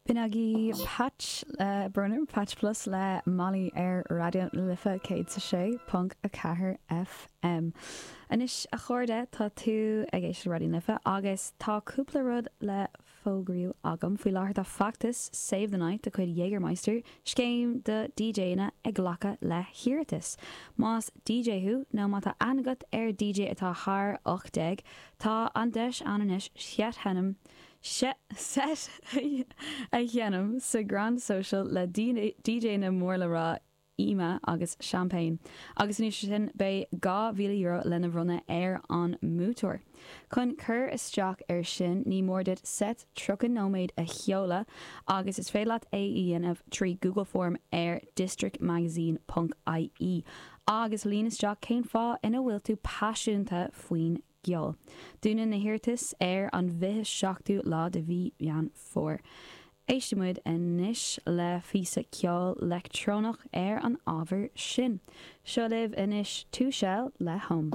B'in agaibh Patch Brunner, Patch Plus le Molly ar Raidió na Life 106.4 FM. Anois a chairde, tá tú ag éisteacht le Raidió na Life agus tá cúpla rud le fógrú agam. Faoi láthair tá feachtas Save the Night de chuid Jägermeister, scéim do DJanna, ag glacadh le hiarratais. Más DJ thú nó má tá aithne agat ar DJ atá thar 18, tá an deis ann anois set a sheinm set a sheinm sa Grand Social le DJanna mór le rá Yma agus Champagne, agus anuas air sin beidh €2,000 lena bhronnadh ar an mbuaiteoir. Chun cur isteach air sin ní mór duit seit 30 nóiméad a sheoladh agus is féidir leat é a dhéanamh trí Google Form ar districtmagazine ponc ie agus líon isteach cén fáth ina bhfuil tú paiseanta faoin gceol. Dúnann na hiarratais ar an 27ú lá de mhí Mheán Fómhair. Éistfidh muid anois le píosa ceoil leictreonach ar an ábhar sin. Seo libh anois Two Shell le Home.